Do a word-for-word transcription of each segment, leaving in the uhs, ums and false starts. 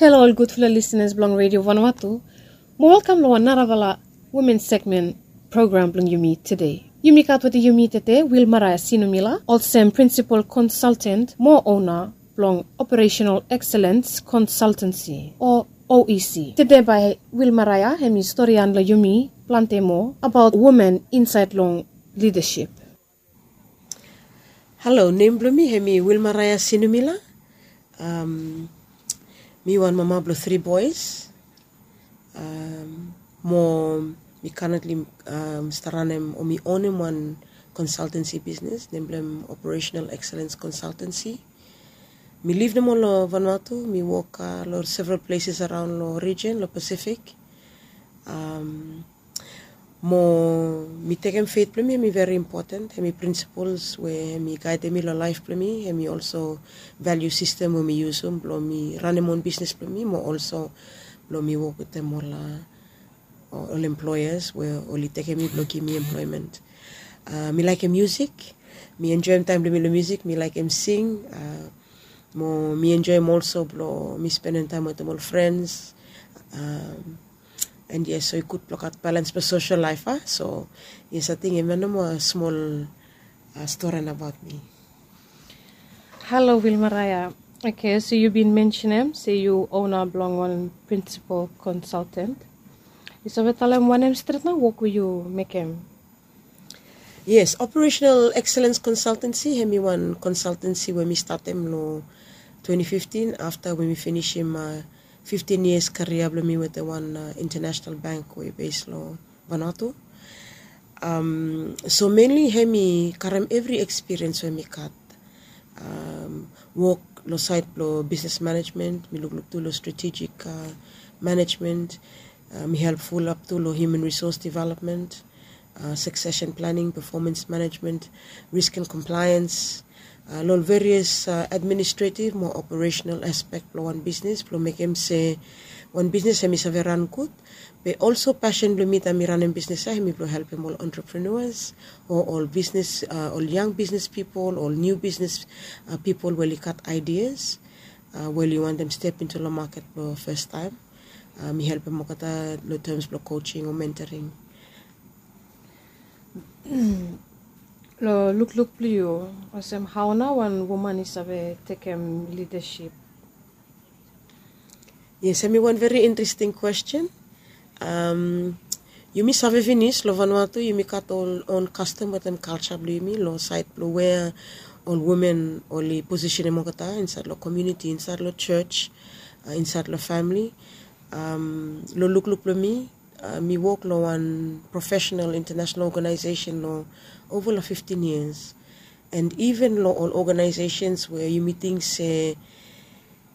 Halo ol gudfala lisenas blong Redio Vanuatu. Mo welkam long wan narafala women segmen program blong yumi tede. Yumi gat wetem yumi tede Wilmaraia Sinumila, olsem prinsipal konsaltan mo ona blong Operational Excellence Consultancy o O E C. Tede bae Wilmaraia hemi storian long yumi plante moa abaot women insaed long lidasip. Halo, nem blong mi hemi Wilmaraia Sinumila. Mi wan mama blong tri boes. Mo mi kanetli stap ranem o mi onem wan konsaltansi bisnes nem blong hem Operational Excellence Consultancy. Mi liv nomo long Vanuatu, mi wok long several places araon long rijen long Pasifik. Mo mi tekem fet blong mi hemi veri impoten, hemi prinsipols we hemi gaedem mi long laef blong mi, hemi olso valiu sistem we mi yusum blong mi ranem on bisnes blong mi mo olso blong mi wok wetem ol ol employers we oli tekem mi blong givim mi employment. Mi laekem musik, mi enjoem taem blong mi long musik, mi laekem sing. Mo mi enjoem olso blong mi spendem taem wetem ol frens. And yes, so i gud blong gat balans blong sosel laef a. So yes, ating hemia nomo smol stori abaot mi. Halo Wilmaraia. Oke, so yu bin mensenem se yu ona blong wan prinsipal konsaltan. Yu save talem wanem stret nao wok we yu mekem? Yes, Operational Excellence Consultancy hemi wan konsaltansi we mi statem long twenty fifteen afta we mi finisim fiftin yias karia blong mi wetem wan international bank we i bes long Vanuatu. So menli hemi karem evri ekspiriens we mi gat. Wok long saed blong bisnes manejmen, mi lukluk tu long stratejik manejmen. Mi help fulap tu long hiuman risos developmen, suksesen planing, pefomans manejmen, risk and komplaens, long ol various administretiv mo operasenal aspek blong wan bisnes blong mekem se wan bisnes hemi save ran gud. Be olso pasen blong mi taem mi ranem bisnes ia hemi blong helpem ol entrepreneurs o ol bisnes, ol yang bisnes pipol, ol niu bisnes pipol we oli gat aidias we oli wantem step into long maket blong fastaem. Mi helpem olgeta long tems blong coaching o mentoring. Long lukluk blong yu, olsem hao nao wan woman i save tekem lidasip? Yes, hemi wan veri interesting kwesten. Yumi save finis long Vanuatu yumi gat ol on kastom wetem kalja blong yumi long saed blong wea ol women oli posisenem olgeta insaed long komuniti, insaed long jos, insaed long famili. Long lukluk blong mi, mi wok long wan profesenal intanasenal oganaesesen long ova long fiftin yias. And iven long ol oganaesesens we yumi ting se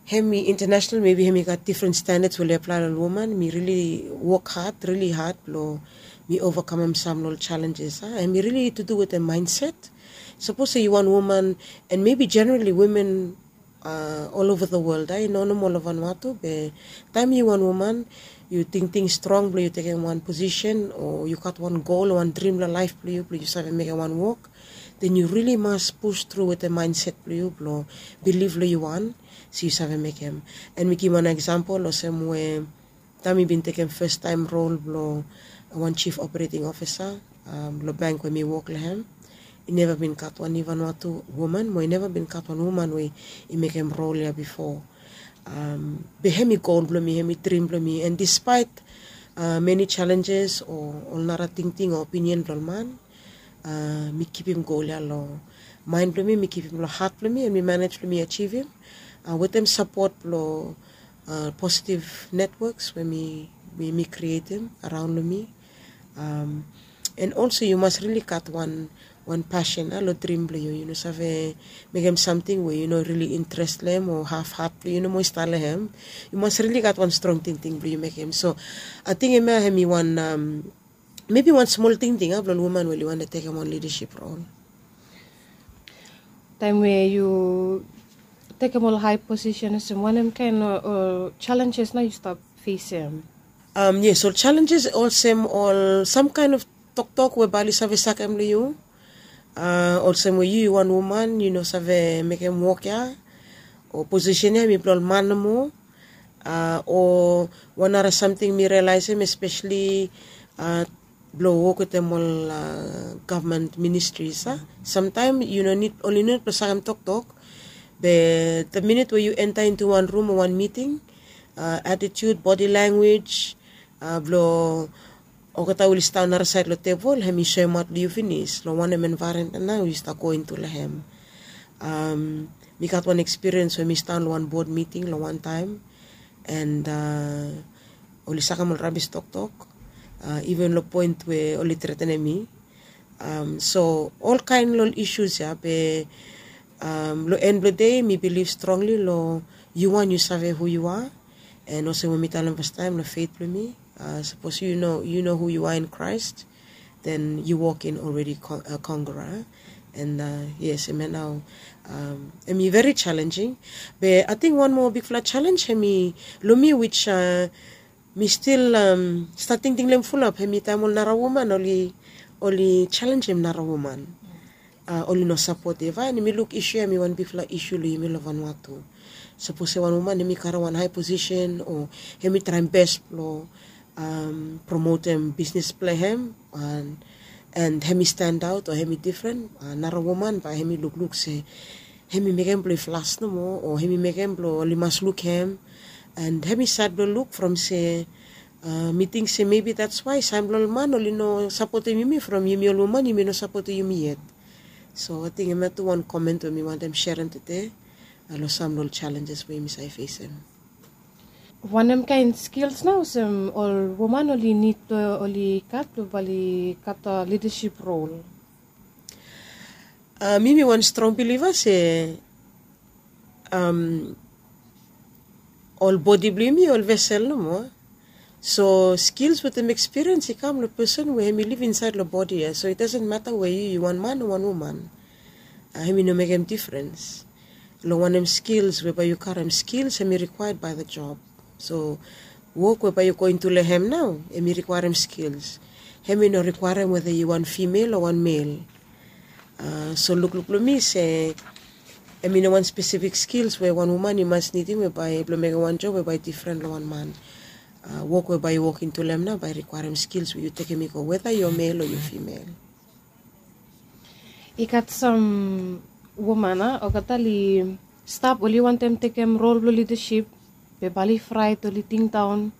hemi intanasenal, mebi hemi gat difren standats we oli aplae long ol woman, mi rili wok had, rili had blong mi ovakamem sam long ol jalenjes. Hemi rili tu du wetem maenset. Sapos se yu wan woman, and mebi jenerali women ol ova the world, i no nomo long Vanuatu, be taem yu wan woman yu tingting strong blong yu tekem wan posisen o yu gat wan gol o wan drim long laef blong yu blong yu save mekem wan wok, den yu rili mas pus tru wetem maenset blong yu blong bilif long yu wan se yu save mekem. And mi givim wan eksampol olsem we taem mi bin tekem fastaem rol blong wan jif operating ofisa long bank we mi wok long hem, i neva bin gat wan iven wan tu woman mo i neva bin gat wan woman we i mekem rol ia bifo. Be hemi gol blong mi, hemi drim blong mi, and dispaet meni jalenjes o ol nara tingting o opinion blong ol man, mi kipim gol ia long maen blong mi, mi kipim long hat blong mi, and mi manej blong mi ajivim wetem sapot blong positiv netwoks we mi, mi krietem araon long mi. And olso yu mas rili gat wan, wan pasen long drim blong yu. Yu no save mekem samting we yu no rili intres long hem o hafhat blong yu no moa i stap long hem. Yu mas rili gat wan strong tingting blong yu mekem. So ating hemia hemi wan, mebi wan smol tingting blong ol woman we oli wantem tekem wan lidasip rol. Taem we yu tekem ol hae posisen olsem wanem kaen ol jalenjes nao yu stap fesem? Yes, ol jalenjes olsem ol sam kaen of toktok we bae oli save sakem long yu. Olsem we yu yu wan woman yu no save mekem wok ia, o posisen ia hemi blong ol man nomo. O wan nara samting mi rialaesem, espeseli blong wok wetem ol gavman ministris a, samtaem yu no nid oli no nid blong sakem toktok. Be the minit we yu enta intu wan rum o wan miting, atitut, bodi languej blong olgeta oli stap narasaed long tebol, hem i soemaot long yu finis long wanem envaeronmen nao yu stap go intu long hem. Mi gat wan ekspiriens we mi stap long wan bod miting long wantaem, and oli sakem ol rabis toktok, iven long poen we oli tretenem mi. So olkaen long ol isus ya be long en blong dei mi bilif strongli long yu wan yu save hu yu a. And olsem we mi talem fastaem long fet blong mi, sapos yu no hu yu a in Christ, then yu wok in olredi kongora. And yes, em ya nao em i veri jalenjing. Be ating wan moa bigfala jalens em i long mi wis mi stil stap tingting long em fulap, em i taem ol nara woman oli jalenjem nara woman, oli no sapotem. Em i luk isu ya em i wan bigfala isu long yumi long vanua tu. Sapos se wan woman em i karem wan hae posisen o em i traem bes blong promotem bisnes blong hem, and em i stendaot o em i difren, nara woman bae em i lukluk se em i mekem blong i flas nomo o em i mekem blong oli mas luk hem. And em i sad blong luk from se mi ting se mebi that's why sam blong ol man oli no sapotem yumi from yumi ol woman yumi no sapotem yumi yet. So ating em ya tu wan komen we mi wantem serem tude long sam blong ol jalenjes we yumi save fesem. Wanem kaen skils nao olsem ol woman oli nid blong oli gat blong bae oli gat lidasip rol? Mi mi wan strong biliva se ol bodi blong yumi ol vesel nomo. So skils wetem ekspiriens i kam long pesen we em i liv insaed long bodi ya. So it dasen mata we yu yu wan man o wan woman, em i no mekem difrens long wanem skils we bae yu karem. Skils em i rikwaed bae the job. So wok we bae yu go intu long hem nao em i rikwaerem skils. Em i no rikwaerem weda yu wan fimel o wan mel. So lukluk blong mi se em i no wan spesifik skils we wan woman i mas nidim we bae blong mekem wan job we bae difren long wan man. Wok we bae yu wok intu long hem nao bae rikwaerem skils we yu tekem i go weda yu mel o yu fimel. I gat sam woman a olgeta oli stap oli wantem tekem rol blong lidasip, be bae oli fraet oli tingdaon.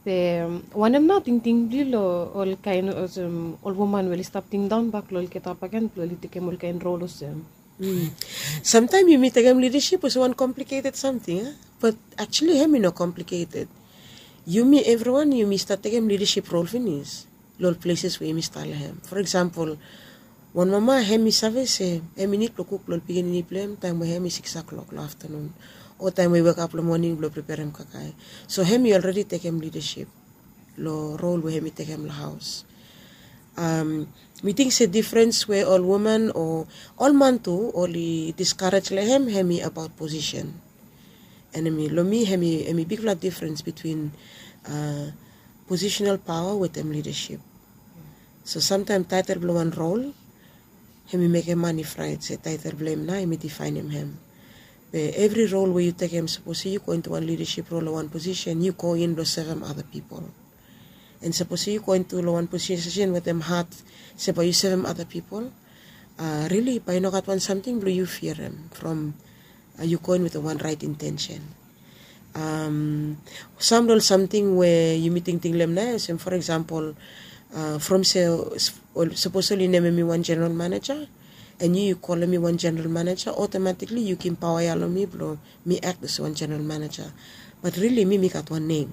Be wanem nao tingting blong yu long olkaen olsem ol woman we oli stap tingdaon bak long oli getap agen blong oli tekem olkaen rol olsem? Samtaem yumi tekem lidasip olsem wan kompliketed samting a, bat aksuali em i no kompliketed. Yumi evriwan yumi stap tekem lidasip rol finis long ol pleses we yumi stap long hem. For eksampol, wan mama hem i save se hem i nid blong kuk long ol pikinini blong hem taem we hem i sikis klok long aftanun o taem we i wekap long moning blong preperem kakae. So hem i olredi tekem lidasip long rol we hem i tekem long haos. Mi ting se difrens we ol woman o ol man tu oli diskarej long hem hem i abaot posisen. And em i long mi em i bigfala difrens bitwin posisenal paoa wetem lidasip. So samtaem taetel blong wan rol em i mekem man i fraet se taetel blong hem nao em i difaenem hem. Be evri rol we yu tekem sapos yu go intu wan lidasip rol o wan posisen yu go in blong sevem ada pipol. And sapos yu go intu long wan posisen wetem hat se bae yu sevem ada pipol, rili bae i no gat wan samting blong yu fiarem from yu go in wetem wan raet intensen. Sam long ol samting we yumi tingting long hem nao olsem for eksampol, from se sapos oli nemem mi wan jeneral maneja, and yu yu kolem mi wan jeneral maneja, otomatikli yu givim paoa ya long mi blong mi ak olsem wan jeneral maneja. Bat rili mi mi gat wan nem.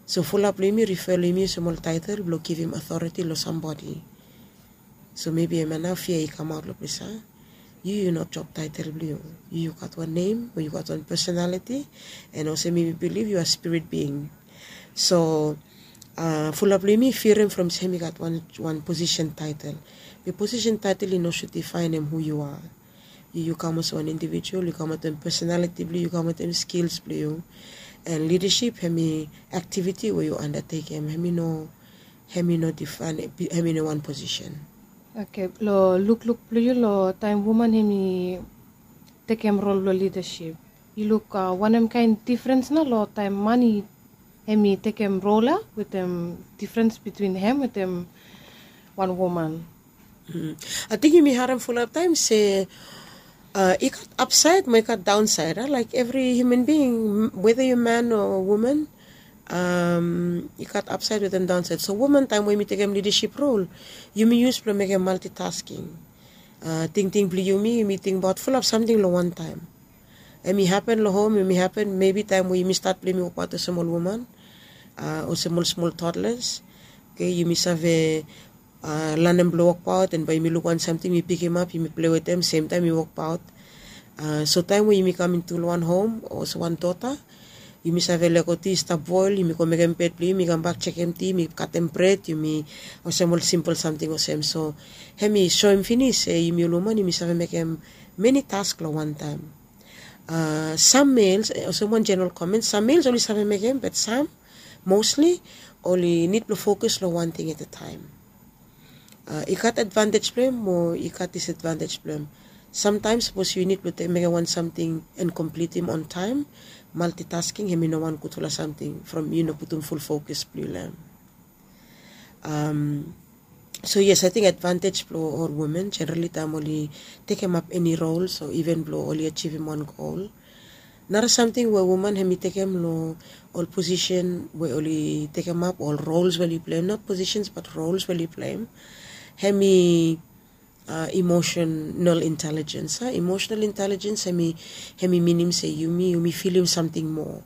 So fulap long yumi rifa long yumi olsem ol taetel blong givim otoreti long sambodi. So mebi em ya nao fia i kamaot long ples ya. Yu yu no job taetel blong yu. Yu yu gat wan nem o yu gat wan pesonaliti. And olsem mi bilif yu a spirit bing. So fulap long yumi firim from se hem i gat wan posisen taetel. Be posisen taetel i no sud difaenem hu yu a. Yu yu kam olsem wan indivijual yu kam wetem pesonaliti blong yu yu kam wetem skils blong yu. And lidasip hem i aktiviti we yu andatekem hem i no hem i no difaenem hem i no wan posisen. Oke, long lukluk blong yu long taem woman hem i tekem rol blong lidasip, Yu luk wanem kain difrens na long taim man hem i tekem rol ya wetem difrens bitwin hem wetem wan woman? Ating yumi harem fulap taim se i gat apsaid mo i gat daunsaid a laik evri hiuman bing, weda yu man o woman, i gat apsaid wetem daunsaid. So woman taim we yumi tekem lidasip rol, yumi yus blong mekem maltitasking. Tingting blong yumi yumi tingbaot fulap samting long wantaim. Em i hapen long hom, em i hapen mebi taim we yumi stat blong yumi wokbaot olsem ol woman, olsem ol smol totlas. Oke, yumi save lanem blong wokbaot, en bae yumi luk wan samting, yumi pikimap, yumi plei wetem, semtaim yumi wokbaot. So taim we yumi kam intu long wan hom olsem wan dota, yumi save lego ti i stap boel, yumi go mekem bed blong yumi, yumi kambak jekem ti, yumi katem bred, yumi olsem ol simpel samting olsem. So hem i soem finis se yumi ol woman yumi save mekem meni task long wantaim. Sam males, olsem wan jeneral komen, sam males oli save mekem, bat sam mosli oli nid blong fokus long wan ting at a taim. I gat advantej blong em o i gat disadvantej blong em. Samtaim sapos yu nid blong mekem wan samting en komplitim on taim, maltitasking hem i no wan gudfala samting from yu no putum ful fokus blong yu long em. So yes, ating advantej blong ol women jenerali taim oli tekemap eni rols o iven blong oli ajivim wan gol. Nara samting we woman hem i tekem long ol posisen we oli tekemap, ol rols we oli pleim, not posisens bat rols we oli pleim, hem i emotional intelligence. Emotional intelligence hem i minim se yumi yumi filim samting moa.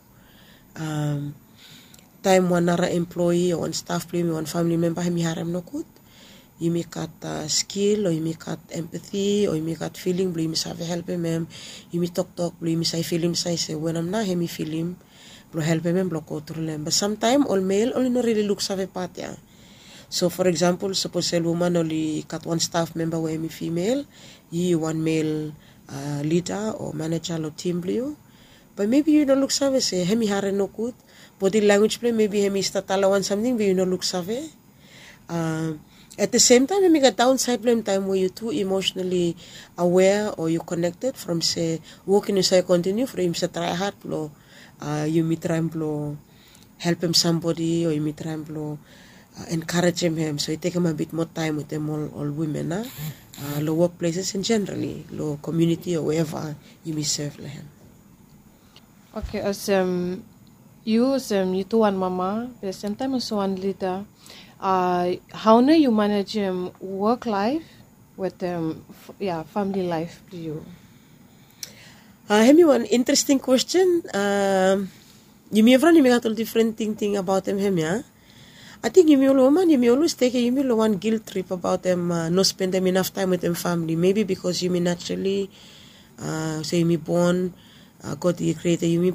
Taim wan nara emploi o wan staf blong yumi, wan famili memba hem i harem nogud, yumi gat skil o yumi gat empati o yumi gat filing blong yumi save helpim em. Yumi toktok blong yumi save filim save se wanem nao hem i filim, blong helpim em blong go tru long em. Bat samtaim ol mel oli no rili luksave pat ya. So for eksampel sapos ol woman oli gat wan staf memba we hem i fimel, yu wan mel lida o maneja long tim blong yu, bat mebi yu no luksave se hem i harem nogud, bodi lanwis blong em mebi hem i stat talem wan samting we yu no luksave. At the sem taim hem i gat daunsaid blong em taim we yu tu emotionali awea o yu konekted from se wok i no save kontiniu from yumi save trae had blong yumi traem blong helpem sambodi o yumi traem blong enkarejem hem. So i tekem a bit moa taim wetem ol wimen a long wok pleses en jenerali long komiuniti o weva yumi sev long hem. Oke, olsem yu olsem yu tu wan mama be semtaim olsem wan lida, hau nao yu manejem wok laef wetem ya famili laef blong yu? Hem i wan interesting kwesten. Yumi evriwan yumi gat ol difren tingting abaotem hem ya. Ating yumi ol woman yumi olwes tekem yumi long wan gil trip abaotem no spendem inaf taim wetem famili, mebi bikos yumi naturali se yumi bon, god i krietem yumi